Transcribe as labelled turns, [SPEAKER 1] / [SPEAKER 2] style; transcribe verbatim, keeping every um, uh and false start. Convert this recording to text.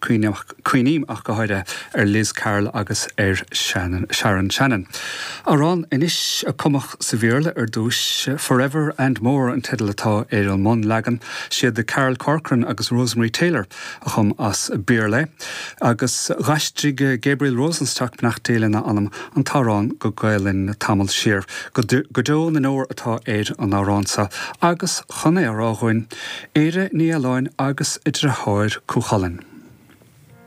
[SPEAKER 1] Cuimhním ach go háirithe ar Liz Carroll agus ar Shannon, Sharon Shannon. Amhrán anois a cumadh sa Bhéarla ar dtús Forever and More an teideal atá ar an mbunleagan siad de Carol Corcoran agus Rosemary Taylor a chum as Béarla agus d'aistrigh Gabriel Rosenstock beannacht Dé lena anam an t-amhrán go Gaelainn tamall siar go deo na ndeor atá ar an amhrán seo agus chun é a rá dúinn Éire Ní Aláin agus a deartháir Cú Chulainn.